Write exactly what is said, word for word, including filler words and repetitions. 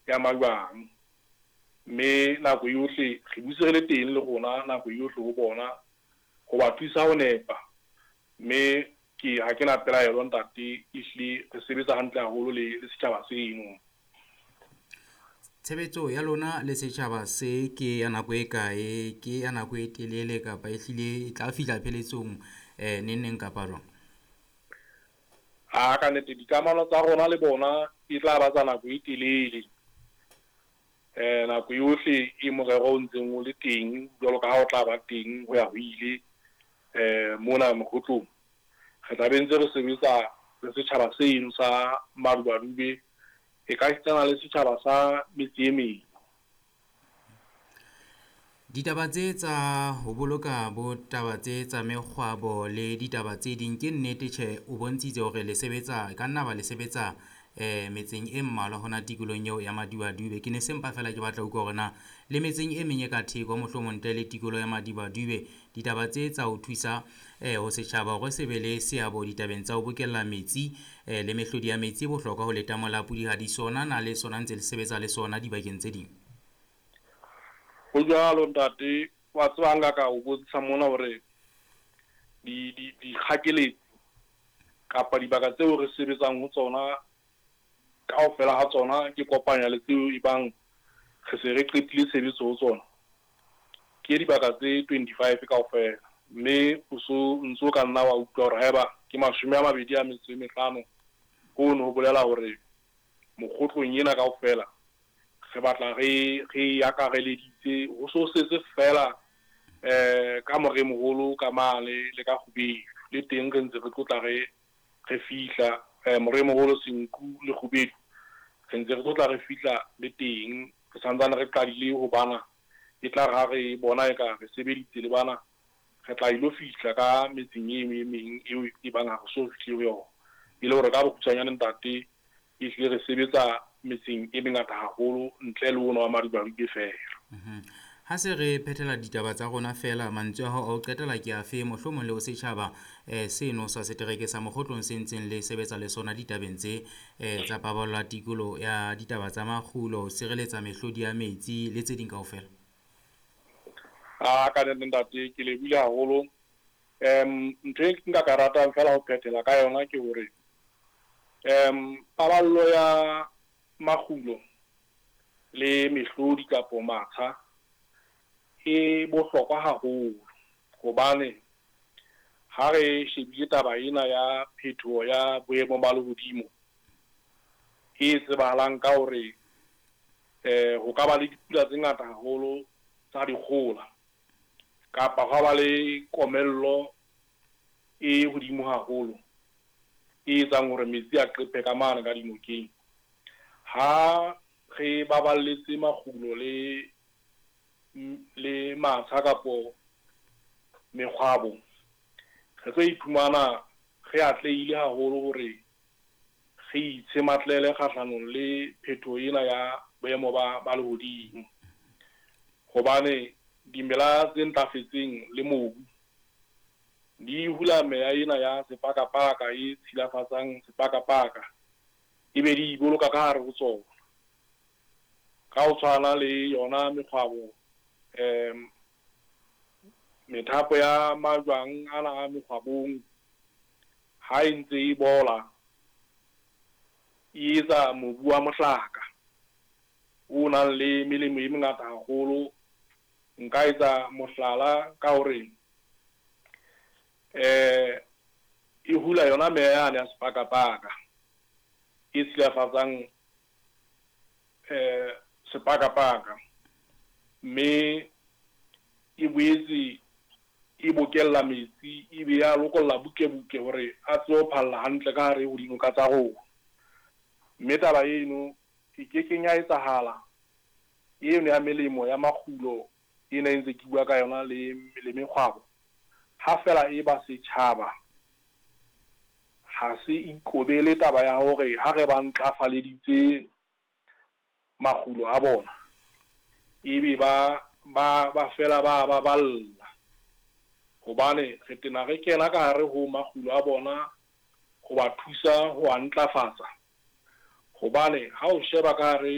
ya majwang. Mme nako yohle re dutse re le teng le rona nako yohle ho bona ho ba thusa ho nepa. Mme ke ha ke na pelaelo ntate, ehlile re sebetsa hantle haholo le le setjhaba seno. Tshebetso ya lona le setjhaba se ke ya nako e kae? Ke ya nako e telele kapa ehlile e tla fihla pheletsong eh neng neng kapa jwang? Ha ka nnete dikamano tsa rona le bona e tla ba tsa nako e telele. Eh nako yohle e morero o ntseng o le teng jwalo ka ha o tla ba teng ho ya ho ile eh mona Mokhotlong. Re tla be ntse re sebetsa le setjhaba seno sa Maduadube, e ka esitana le setjhaba sa metse e meng. Ditaba tse tsa ho boloka bo taba tse tsa mekgwabo le ditaba tse ding ke nnete tjhe, o bontshitse hore le sebetsa ka nna ba le sebetsa eh metseng e mmalwa hona tikolohong eo ya Maduadube. Ke ne se mpa fela ke batla ho utlwa hore na le metseng e meng e ka theko mohlomong ntle le tikoloho ya Maduadube, ditaba tse tsa ho thusa eh ho setjhaba hore se be le seabo ditabeng tsa ho bokella metsi eh le mehlodi ya metsi e bohlokwa ho letamo la Pudihadi sona na le sona ntse le sebetsa le sona dibakeng tse ding. Ho jwalo ntate, wa tseba nka ka o bontsha mona hore di di dikgakeletsi kapa dibaka tseo re sebetsang ho tsona kaofela ha tsona ke kopanya le tseo e bang re se re qetile tshebetso ho tsona. Ke dibaka tse twenty-five kaofela, mme o so ntso ka nna wa utlwa hore haeba ke mashome a mabedi a metso e mehlano, hono ho bolela hore Mokhotlong ena kaofela re batla re re akareleditse ho so setse fela eh ka Moremoholo ka mane le ka Kgubedu le teng re ntse re tlotla re re fihla eh Moremoholo, Senku le Kgubedu re ntse re tlotla re fihla le teng. Re santsane re qadile ho bana, e tla re ha re bona eka re sebeditse le bana, re tla ilo fihla ka metseng e e meng eo e bang ha re so fihle ho yona. E le hore ka bokgutshwanyane ntate, ehlile re sebetsa metseng e mengata haholo ntle le ona wa Maduadube fela. Mhm. Ha se re phethela ditaba tsa rona fela, mantswe a hao a ho qetela ke afe mohlomong le ho setjhaba eh seno sa setereke sa Mokhotlong se ntseng le sebetsa le sona ditabeng tse eh tsa paballo ya tikoloho ya ditaba tsa makgulo, ho sireletsa mehlodi ya metsi le tse ding kaofela? Ah ka nnete ntate, ke lebohile haholo. Em ntho e nka ka ratang fela ho phethela ka yona ke hore em paballo ya makgulo le mehlodi kapo matsha e bohlokwa haholo, hobane ha re shebile taba ena ya phetoho ya boemo ba lehodimo e tsebahalang ka hore eh ho ka ba le dipula tse ngata haholo tsa dikgola kapa hwa ba le komello e hodimo haholo e etsang hore metsi a qephe ka mane ka dinokeng. Ha re baballetse makgulo le le matsha kapo mekgwabo, re tlo iphumana re atlehile haholo hore re itshematlele kgahlanong le phetoho ena ya boemo ba ba lehodimo. Hobane dimela tse ntlafetseng le mobu di hula meya ena ya sepakapaka e tshilafatsang sepakapaka, ebe di boloka ka hare ho tsona. Ka ho tshwana le yona mekgwabo, em methapo ya majwang ana a mekgwabong ha e ntse e bola, e etsa mobu wa mohlaka o nang le melemo e mengata haholo. Nka etsa mohlala ka hore eh e hula yona meya yane ya sepakapaka e tshilafatsang eh sepakapaka, mme e boetse e bokella metsi e be ya lokolla butle-butle hore a tsebe ho phalla hantle ka hare ho dinoka tsa rona. Mme taba eno e kekeng ya etsahala eno ya melemo ya makgulo ena e ntse ke bua ka yona le le mekgwabo, ha fela e ba setjhaba ha se ikobele taba ya hore ha re ba ntlafaleditse makgulo a bona, ebe ba ba ba fela ba ba balla. Hobane re tena re kena ka hare ho makgulo a bona ho ba thusa ho a ntlafatsa. Hobane ha o sheba ka hare